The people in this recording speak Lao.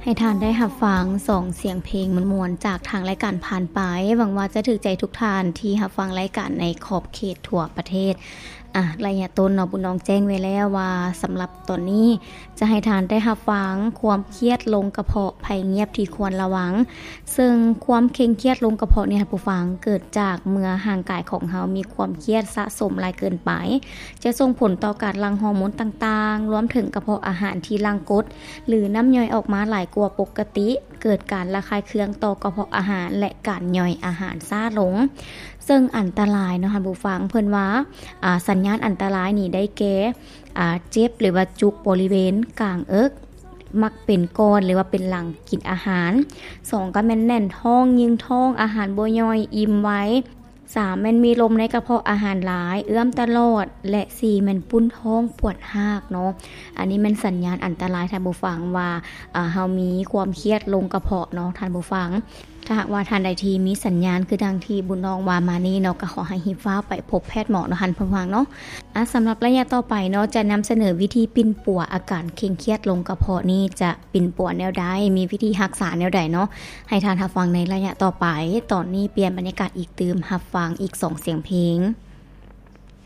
ໃຫ້ທ່ານໄດ້ຮັບຟັງສອງສຽງເພງມ່ວນໆ ຈາກທາງລາຍການຜ່ານໄປ. ຫວັງວ່າຈະຖືກໃຈທຸກທ່ານທີ່ຮັບຟັງລາຍການໃນຂອບເຂດທົ່ວປະເທດ. ອ່ະ ໄລຍະຕົ້ນເນາະ ບຸນນອງແຈ້ງໄວ້ແລ້ວວ່າ ສຳລັບຕອນນີ້ຈະໃຫ້ທ່ານໄດ້ຮັບຟັງຄວາມຄຽດລົງກະເພາະ ໄພງຽບທີ່ຄວນລະວັງ. ເຊິ່ງຄວາມເຄັ່ງຄຽດລົງກະເພາະນີ້ ທ່ານຜູ້ຟັງ ເກີດຈາກເມື່ອຮ່າງກາຍຂອງເຮົາມີຄວາມຄຽດສະສົມຫຼາຍເກີນໄປ ຈະສົ່ງຜົນຕໍ່ການຫຼັ່ງຮໍໂມນຕ່າງໆ ລວມເຖິງກະເພາະອາຫານທີ່ຫຼັ່ງກົດ ຫຼື ນ້ຳຍ່ອຍອອກມາຫຼາຍກວ່າປົກກະຕິ, ເກີດການລະຄາຍເຄືອງຕໍ່ກະເພາະອາຫານ ແລະ ການຍ່ອຍອາຫານຊ້າລົງ. ເຊິ່ງອັນຕະລາຍເນາະ ທ່ານຜູ້ຟັງ, ເພິ່ນວ່າ ອາ ສັນຍານອັນຕະລາຍນີ້ໄດ້ແກ່ ອາ ເຈັບ ຫຼືວ່າຈຸກບໍລິເວນກາງເອິກ, ມັກເປັນກ້ອນ ຫຼືວ່າເປັນຫຼັງກິນອາຫານ. ສອງ ກໍແມ່ນແໜ້ນທ້ອງ, ຍິງທ້ອງ, ອາຫານບໍ່ຍ່ອຍ, ອີ່ມໄວ. ສາມ ແມ່ນມີລົມໃນກະເພາະອາຫານຫຼາຍ, ເອື້ອມຕະຫຼອດ ແລະ ສີ່ ແມ່ນປຸ້ນທ້ອງປວດຮາກເນາະ. ອັນນີ້ແມ່ນສັນຍານອັນຕະລາຍ ທ່ານຜູ້ຟັງ ວ່າ ອາ ເຮົາມີຄວາມຄຽດລົງກະເພາະເນາະ ທ່ານຜູ້ຟັງ. ຖ້າຫາກວ່າທ່ານໃດທີ່ມີສັນຍານຄືດັ່ງທີ່ບຸນນອງວ່າມານີ້ເນາະ ກໍຂໍໃຫ້ຮີບຟ້າວໄປພົບແພດໝໍເນາະ ທ່ານຜູ້ຟັງເນາະ. ອາ ສຳລັບໄລຍະຕໍ່ໄປເນາະ ຈະນຳສະເໜີວິທີປິ່ນປົວອາການເຄັ່ງຄຽດລົງກະເພາະນີ້ ຈະປິ່ນປົວແນວໃດ, ມີວິທີຮັກສາແນວໃດເນາະ ໃຫ້ທ່ານຮັບຟັງໃນໄລຍະຕໍ່ໄປ. ຕອນນີ້ປ່ຽນບັນຍາກາດອີກຕື່ມ, ຮັບຟັງອີກສອງສຽງເພງ.